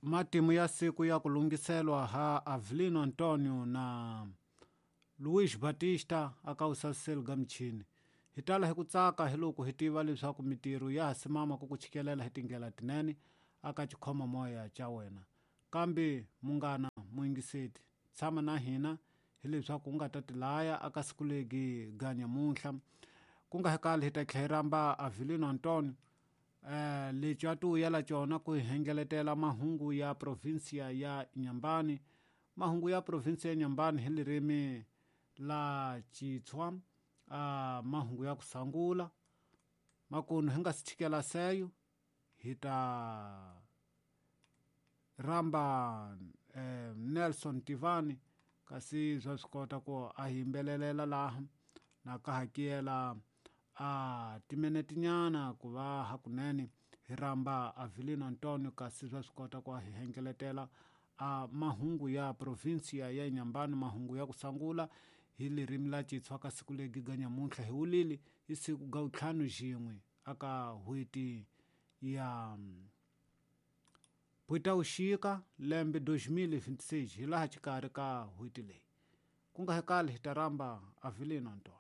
Matimu ya siku ya ku lunghiselwa ha Avelino Antonio na Luiz Batista aka usaseli ga michini. Hi tala hi ku tsaka hi loko hi tiva leswaku mitirho ya ha simama ku ku chikelela hi tindlela tinene aka xikhoma moya xa wena. Kambe munghana muyingiseti, tshama na hina hileswaku u nga ta tilaya aka siku legi ga nyamuntlha. Ku nga hekali hi ta tlhela hi rhamba Avelino Antonio lexi a ti vuyela cona ku hi hengeletela mahungu ya provinsia ya Inhambane. Mahungu ya provinsia ya Inhambane hi lirimi la Xitswa, mahungu ya ku sangula. Makunu hi nga si chikela seyo hi ta rhamba Nelson Tivani kasi swa swi kota ku a hi yimbelelela laha na ka hakela a timinetinyana ku va hakunene hi rhamba Avelino Antonio kasi swa swi kota ku a hi hengeletela a mahungu ya provinsia ya Inhambane, mahungu ya ku sangula hi lirimi la Xitswa ka siku legi ga nyamuntlha hi wulili hi siku ga ntlhanu xin'we aka n'hweti ya Putauxika lembe 2026 hi laha xikarhi ka n'hweti leyi. Ku nga hekali hi ta rhamba Avelino Antonio.